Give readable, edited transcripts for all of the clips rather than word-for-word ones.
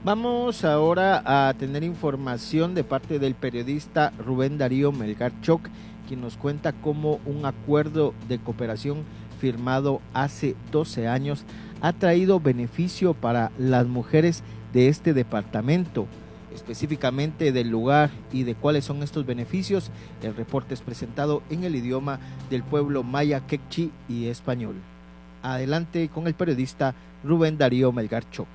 Vamos ahora a tener información de parte del periodista Rubén Darío Melgar Choc, quien nos cuenta cómo un acuerdo de cooperación firmado hace 12 años ha traído beneficio para las mujeres de este departamento. Específicamente del lugar y de cuáles son estos beneficios, el reporte es presentado en el idioma del pueblo maya, quechí y español. Adelante con el periodista Rubén Darío Melgar Choc.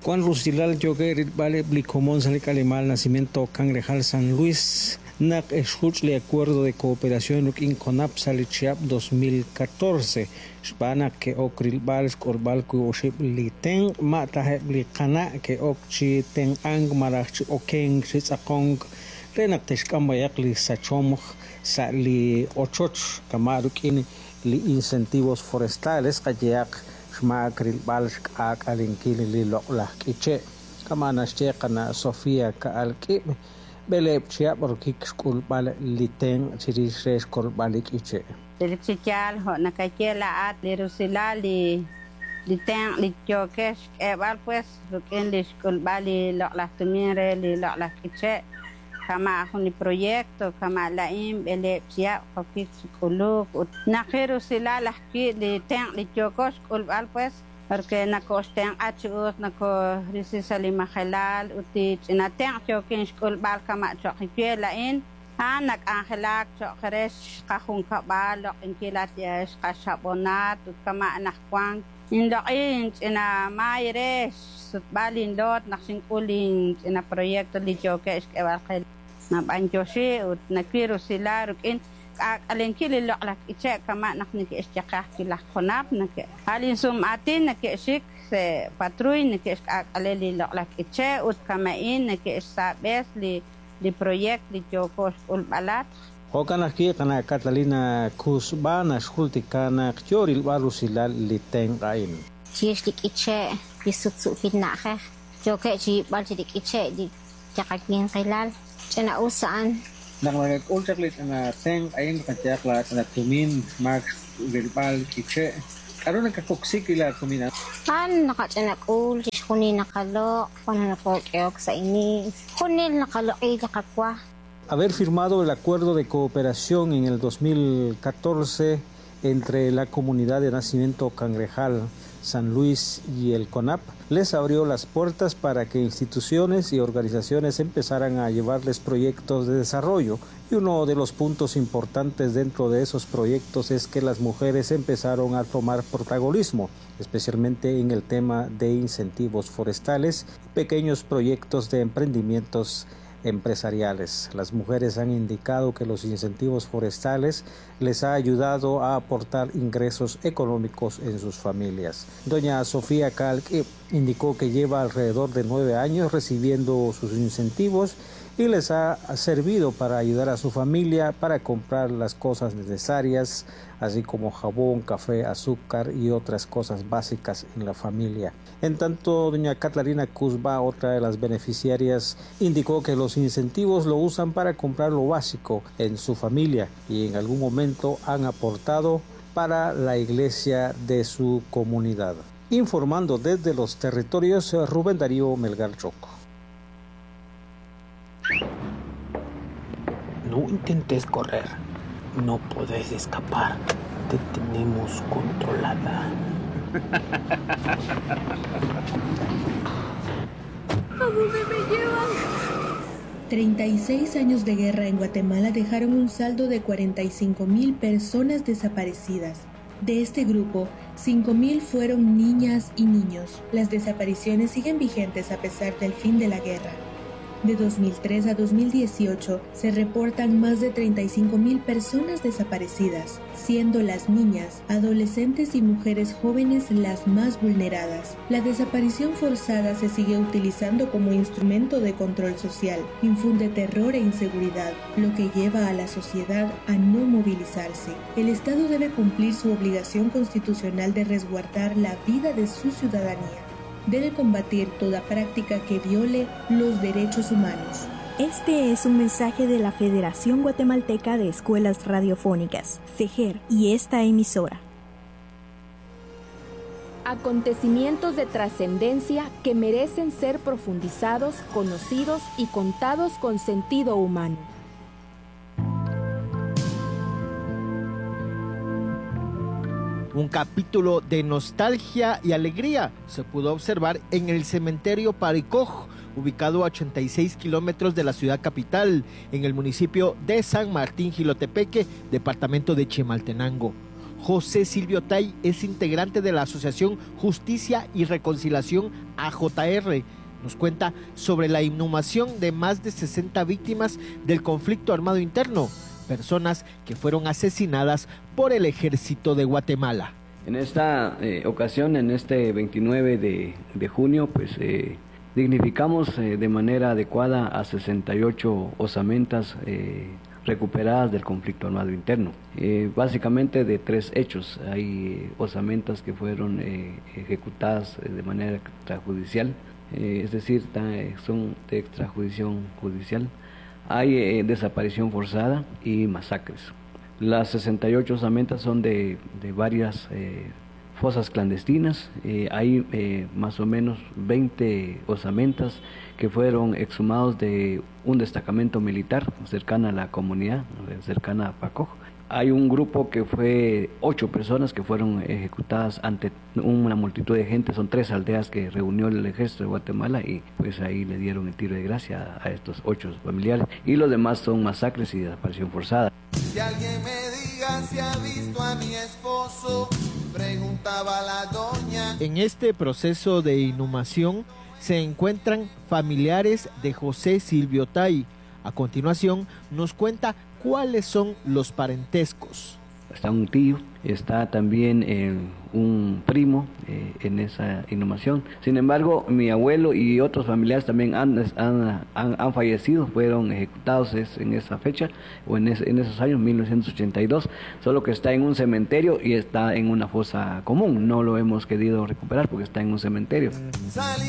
Juan Rusilal Yoguer vale Blicomón Salic Alemán Nacimiento Cangrejal San Luis Nak Eshuch le acuerdo de cooperación in CONAP Salichiap 2014 Xbana que okril bal xkorbal ku oxib li ten mata li qana que ok chi ten ang marach okeng chitzaqong renak texkambayak li sachomj sa li ochoch kamaruk in li incentivos forestales qayeaq xmaak rilb'al xk'ak'alinkil li loq'laj k'iche' kama' naxye qana' Sofía Ka'alk'ib' b'eleeb' chihab' rokik xk'ulb'al li tenq' chirix re xkolb'al li k'iche'. Relik chi yaal jo' nakaye laa'at li rusilal li tenq' li yookex xk'eeb'al pues rik'in li xk'ulb'al li loq'laj tumin re li loq'laj k'iche' kama' jun li proyecto kama' la'in b'eleeb' chihab' qokik chi k'uluk ut naqi rusilal ajwi' li tenq' li yooko xk'ulb'al pues porque nakoxtenq'a chi us nakorisi sa' li majelal ut li ch'ina tenq' yookin xk'ulb'al kama' cho'q we la'in a'an nak'anjelak cho'q re xqajunkab'al loq'inkil xqaxab'onat ut kama' anaqwan inloq'i inch'ina maay re xsutb'al inloot naq xink'ul inch'ina proyecto li yookeb' xk'eeb'al qe nab'anyoxi ut nawil rusilal rik'in k'ak'alenkil li loq'laj k'iche' kama' naq neke'xyaqaj ajwi' laj CONAP nake' a' linsum'aatin neke'xik sa' patrulla neke'xk'ak'ale li loq'laj k'iche' ut kama'in neke'xsab'es li proyecto li yooko xk'ulb'alat. Jo'kan ajwi' qana' Catalina Kuzba naxjultika naq yo rilb'al rusilal li tenq' a'in. Chirix li k'iche' li sutsu'kil na'ajej yookeb' chi yib'al chi li k'iche' li yaqawinqilal ch'ina us a'an. Naq nakak'ul chaq li ch'ina tenq' a'in qayehaq la ch'ina tumin xmaak rilb'al k'iche' k'a'ru nakakoksi wi' la tumin a'an? A'an naqach'ina k'ul chixjunil naqaloq' wan nakok'ehok sa' iniis junil naqaloq'i li qawa. Haber firmado el acuerdo de cooperación en el 2014 entre la comunidad de Nacimiento Cangrejal, San Luis y el CONAP les abrió las puertas para que instituciones y organizaciones empezaran a llevarles proyectos de desarrollo. Y uno de los puntos importantes dentro de esos proyectos es que las mujeres empezaron a tomar protagonismo, especialmente en el tema de incentivos forestales y pequeños proyectos de emprendimientos empresariales. Las mujeres han indicado que los incentivos forestales les ha ayudado a aportar ingresos económicos en sus familias. Doña Sofía Calc indicó que lleva alrededor de 9 años recibiendo sus incentivos y les ha servido para ayudar a su familia para comprar las cosas necesarias, así como jabón, café, azúcar y otras cosas básicas en la familia. En tanto, doña Catalina Kuzba, otra de las beneficiarias, indicó que los incentivos lo usan para comprar lo básico en su familia y en algún momento han aportado para la iglesia de su comunidad. Informando desde los territorios, Rubén Darío Melgar Choco. No intentes correr, no podés escapar, te tenemos controlada. ¿A dónde me llevan? 36 años de guerra en Guatemala dejaron un saldo de 45,000 personas desaparecidas. De este grupo, 5,000 fueron niñas y niños. Las desapariciones siguen vigentes a pesar del fin de la guerra. De 2003 a 2018 se reportan más de 35,000 personas desaparecidas, siendo las niñas, adolescentes y mujeres jóvenes las más vulneradas. La desaparición forzada se sigue utilizando como instrumento de control social, infunde terror e inseguridad, lo que lleva a la sociedad a no movilizarse. El Estado debe cumplir su obligación constitucional de resguardar la vida de su ciudadanía. Debe combatir toda práctica que viole los derechos humanos. Este es un mensaje de la Federación Guatemalteca de Escuelas Radiofónicas, FEGER, y esta emisora. Acontecimientos de trascendencia que merecen ser profundizados, conocidos y contados con sentido humano. Un capítulo de nostalgia y alegría se pudo observar en el cementerio Paricoj, ubicado a 86 kilómetros de la ciudad capital, en el municipio de San Martín Jilotepeque, departamento de Chimaltenango. José Silvio Tay es integrante de la Asociación Justicia y Reconciliación AJR. Nos cuenta sobre la inhumación de más de 60 víctimas del conflicto armado interno, personas que fueron asesinadas por el ejército de Guatemala. En esta ocasión, en este 29 de junio, pues dignificamos de manera adecuada a 68 osamentas recuperadas del conflicto armado interno. Básicamente de tres hechos. Hay osamentas que fueron ejecutadas de manera extrajudicial, es decir, son de extrajudicial judicial. Hay desaparición forzada y masacres. Las 68 osamentas son de varias fosas clandestinas. Hay más o menos 20 osamentas que fueron exhumados de un destacamento militar cercana a la comunidad, cercana a Pacoj. Hay un grupo que fue 8 personas que fueron ejecutadas ante una multitud de gente. Son 3 aldeas que reunió el ejército de Guatemala y pues ahí le dieron el tiro de gracia a estos 8 familiares. Y los demás son masacres y desaparición forzada. Que alguien me diga si ha visto a mi esposo, preguntaba la doña. En este proceso de inhumación se encuentran familiares de José Silvio Tay. A continuación nos cuenta cuáles son los parentescos. Está un tío, está también un primo en esa inhumación. Sin embargo, mi abuelo y otros familiares también han fallecido, fueron ejecutados en esa fecha o en esos años, 1982, solo que está en un cementerio y está en una fosa común. No lo hemos querido recuperar porque está en un cementerio.